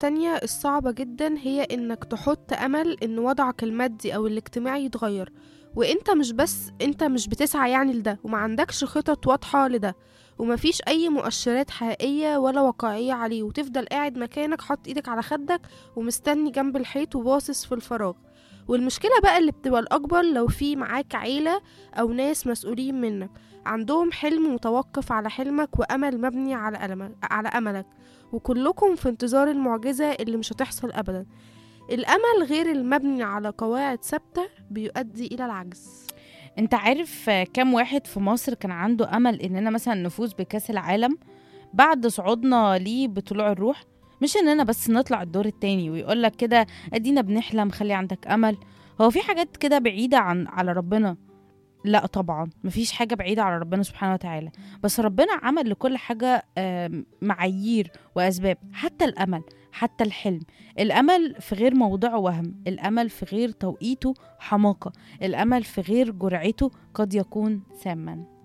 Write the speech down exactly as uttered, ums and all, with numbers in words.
التانية الصعبة جدا هي إنك تحط أمل إن وضعك المادي أو الاجتماعي يتغير، وإنت مش بس إنت مش بتسعى يعني لده، وما عندكش خطط واضحة لده، ومفيش أي مؤشرات حقيقية ولا واقعية عليه، وتفضل قاعد مكانك حاطط إيدك على خدك ومستني جنب الحيط وباصص في الفراغ. والمشكلة بقى اللي بتبقى الأكبر لو في معاك عيلة أو ناس مسؤولين منك عندهم حلم متوقف على حلمك وأمل مبني على ألمك على أملك، وكلكم في انتظار المعجزة اللي مش هتحصل أبدا. الأمل غير المبني على قواعد ثابتة بيؤدي إلى العجز. انت عارف آه، كم واحد في مصر كان عنده امل اننا مثلا نفوز بكأس العالم بعد صعودنا ليه بطلوع الروح؟ مش اننا بس نطلع الدور التاني ويقولك كده ادينا بنحلم، خلي عندك امل. هو في حاجات كده بعيدة عن على ربنا؟ لا طبعا، مفيش حاجة بعيدة على ربنا سبحانه وتعالى. بس ربنا عمل لكل حاجة آم، معايير وأسباب، حتى الأمل، حتى الحلم. الأمل في غير موضعه وهم، الأمل في غير توقيته حماقة، الأمل في غير جرعته قد يكون ساما.